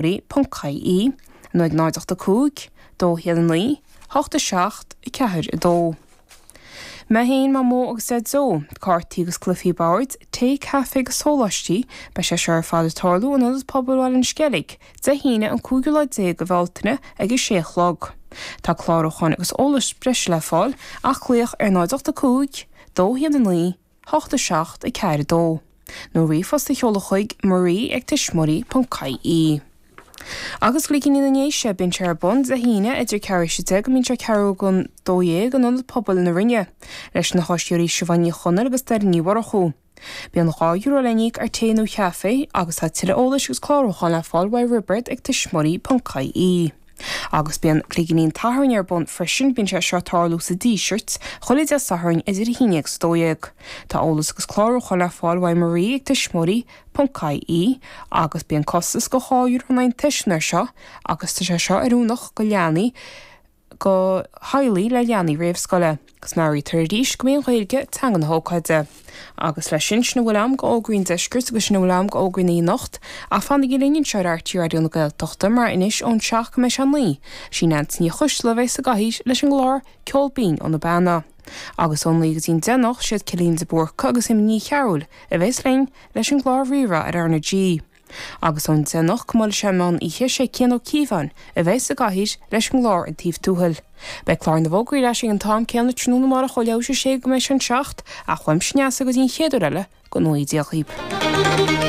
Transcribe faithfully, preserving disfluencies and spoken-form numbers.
tuismitheoirí.ie nó ag náid ocht a cúig, dó haon a naoi, hocht a seacht, ceathair a dó. Mé féin, Mamó agus Deaideo, cártaí agus cluichí boird, tae, caife agus sóláistí, beidh sé seo ar fad ag tarlú in Ionad Pobail Bhaile an Sceilg, Dé hAoine an cúigiú lá déag de Bhealtaine ag a sé a chlog. Tá clárúcháin agus eolas breise le fáil ach glaoch ar náid ocht a cúig, dó haon a naoi, hocht a seacht, ceathair a dó. Nó ríomhphost a sheoladh chuig marie ag tuismitheoirí.ie. Agus Cloigíní na nDéise, bíonn sé ar bun Dé hAoine idir ceathrú théis a deich go mbíonn sé ceathrú don dó dhéag in Ionad Pobail na Rinne, leis na háisitheoirí Siobhán Ní Chonaill agus Doireann Ní Mhurchú. Bíonn dhá euro le n-íoc ar tae nó chaife agus tá tuilleadh eolais agus clárúcháin le fáil uaidh Roibeard ag tuismitheoirí.ie. Agus bíonn Cloigíní an tSathairn ar bun freisin, bíonn sé seo ag tarlú sa Díseart, chuile Dé Sathairn idir a haon déag agus a dó dhéag. Tá eolas agus clárúcháin le fáil uaidh Marie ag tuismitheoirí.ie agus bíonn costas de dhá euro in aghaidh an tuismitheora seo agus tá sé seo oiriúnach go leanaí go theaghlaigh le leanaí réamhscoile. Agus meabhraítear arís go mbíonn Gaeilge teanga na hócáide. Agus leis sin sin a bhfuil agam d'fhógraí an deiscirt agus sin a bhfuil agam d'fhógraí na anocht, ach fanaigí linn anseo ar RTÉ Raidió na Gaeltachta mar anois ón seacht go mbeidh sé naoi, sí Neansaí Ní Choisdealbha a bheidh sa gcathaoir leis an gclár Ceol Binn ó na Beanna. Agus ón naoi go dtí an deich anocht siad Cillian de Búrca agus Amy Ní Chearúil a bheas linn leis an gclár Rí-Rá ar R na G. Agus ón deich anocht go mbuailfidh sé meán oíche sé Cian Ó Cíobháin a bheas sa gcathaoir leis an gclár An Taobh Tuathail. Beidh clár na bhfógraí ar ais ag an t-am céanna tráthnóna amárach ó leathuair théis a sé go mbeidh sé an seacht, ach uaimse Neasa go dtí an chéad uair eile go ngnóthaí Dia dhaoibh.